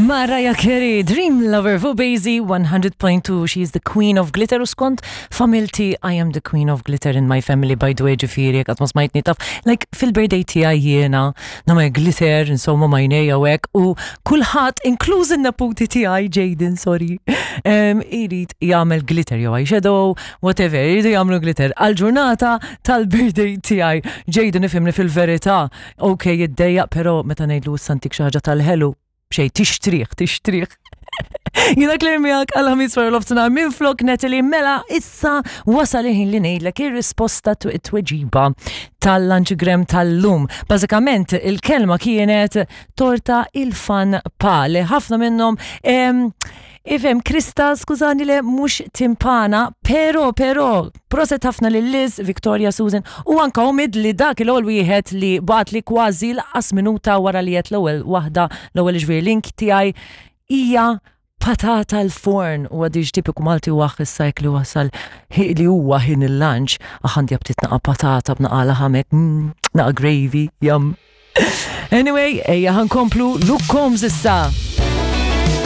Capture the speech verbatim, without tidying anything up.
Mariah Carey, Dream Lover fuq Bazy one hundred point two. She is the queen of glitter u skont familti, I am the queen of glitter in my family, by the way, ġifieri, għad ma smajtni taf. Like, fil-birthday tiegħi jiena, nagħmel glitter, insomma, m'għajnejja u hekk, u kulħadd, inkluż in-neputi tiegħi, Jaden, sorry, um, irid jagħmel glitter jew eyeshadow, whatever, iridu jagħmlu glitter għal-ġurnata tal-birthday tiegħi. Jaden ifhimni fil-verità, ok, jiddejjaq, pero meta ngħidlu issa ntik xi ħaġa tal-ħelu, xej, tixtrih, tixtrih. Jiena Claire miegħek għal-ħamis wara nofsinhar minn flok Natalie. Mela issa wasal il-ħin li ngħidlek ir-risposta, t-tweġiba tal-Lunchgram tal-lum. Bażikament il-kelma kienet torta il-fan pa li ħafna minnhom. Ifhem, Krista, skużani, le mhux timpana, pero, pero, proset ħafna lil Liz, Victoria, Susan, u anka Omid li dak l-ewwel wieħed li bagħat li kważi lanqas minuta wara li għedt l-ewwel waħda, l-ewwel ġifieri link tiegħi hija patata l-forn u għadix tipiku Malti u għax issa li wasal li huwa ħin il-lunch, għandi aptit naqa patata b'naqa laħam hekk, mm, naqa gravy, yum. Anyway, ejja ħa nkomplu Luke Combs issa.